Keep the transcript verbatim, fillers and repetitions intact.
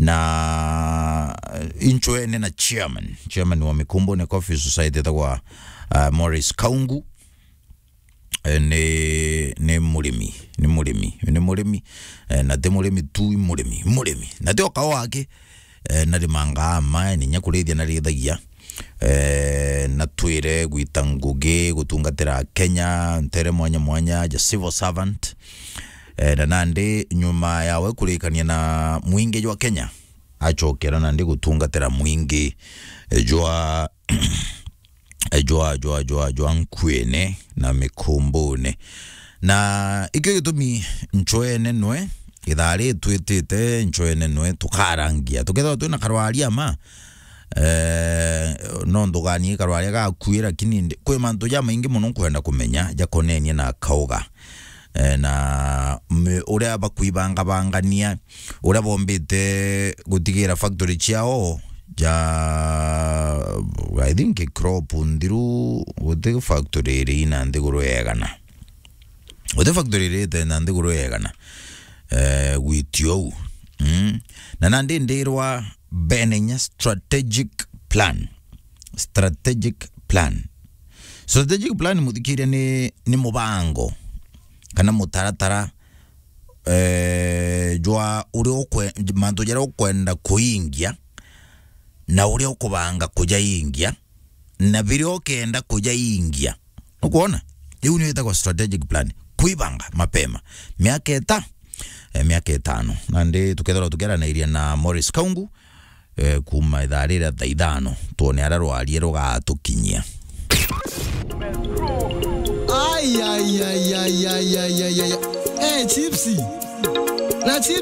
na inchwene na chairman, chairman wa Mikumbune Coffee Society etagwa, uh, Morris Kaungu. Eh, ni, ni murimi, ni murimi, ni murimi, eh, na ti murimi tu, i murimi, murimi. Na ti o kao ake, eh, na rimangaa ma, ni nya kurithia na rithagia, eh, na twire gwita ngugi, gutungatira Kenya, ntere mwanya mwanya, ja civil servant. Eh, na nandi nyuma yawe kurikania na mwingi jwa Kenya, achokera nandi gutungatira mwingi, eh, jwa eh, jwa, jwa, jwa, jwa nkuene na mikumbune. Na ikio gitumi nchwene nwe, ithaa ritwitite nchwene nwe, tukarangia. Tukethirwa twina karwaria ma, eh, no nthuganie karwaria gaku, lakini ndi-, kwi mantu jamaingi mono nkwenda kumenya, jakonenie na kauga. Eh, na mi-, uria bakwibangabangania, uria bombite gutigira factory ciao ja, I think, crop nthiru, guti factory iri ina nthiguru yegana. Guti factory iri ite na nthiguru yegana, eh, gwitio uu. Mm. Na nandi ndirwa bene inya strategic plan. Strategic plan. Strategic plan, muthikiria, ni, ni mubango kana mutaratara, eh, jwa uria ukwe-, mantu jaria ukwenda kuingia, na uria ukubanga kujaingia, na biria ukenda kujaingia. Nukwona? Iu niyo itagwa strategic plan. Kwibanga mapema. Miaka ita-, eh, miaka itano. Nandi tukethirwa tukiaranairia na Morris Kaungu, eh, kuma ithaa riria thaa ithano, twone aria rwarie rugatukinyia. Ai, ai, ai, ai, ai, ai, ai, ai, ai. Eh, chipsi. Na chips